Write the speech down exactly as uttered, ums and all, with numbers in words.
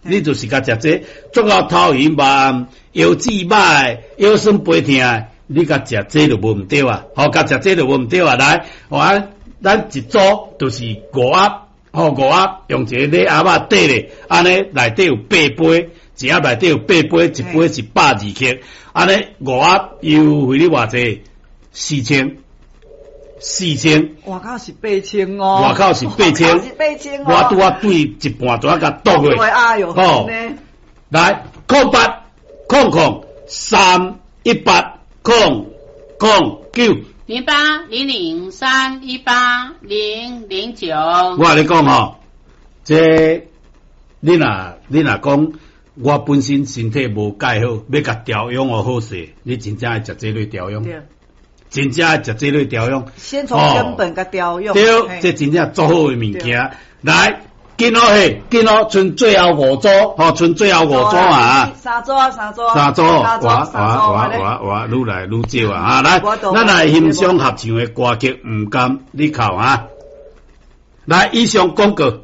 你就是共食這，足夠頭暈目腰子歹，腰酸背疼，你共食這就無毋對啊！吼，共食這就無毋對啊！來，我咱一組就是五盒，吼，五盒用一个禮盒仔綴咧，按呢內底有八杯，一盒內底有八杯，一杯是百二克，按呢五盒優惠你偌濟？四千，四千。外口是八千哦，外口是八千，是八千哦。我拄仔對一半，拄仔共倒過。哎喲，吼，來，空八空空三一八空空九。零八零零三一八零零九。我共你講吼，這你若你若講，我本身身體無蓋好，欲共調養予好勢，你真正愛食這類調養。真正愛食這類調養。先從根本共調養。對，這真正足好的物件。來，緊好嘿，緊好，賰最後五組，吼，賰最後五組啊。三組啊，三組。三組，哇哇哇哇哇，愈來愈少啊！啊，來，咱來欣賞合唱的歌曲，毋甘你哭啊！來，以上廣告。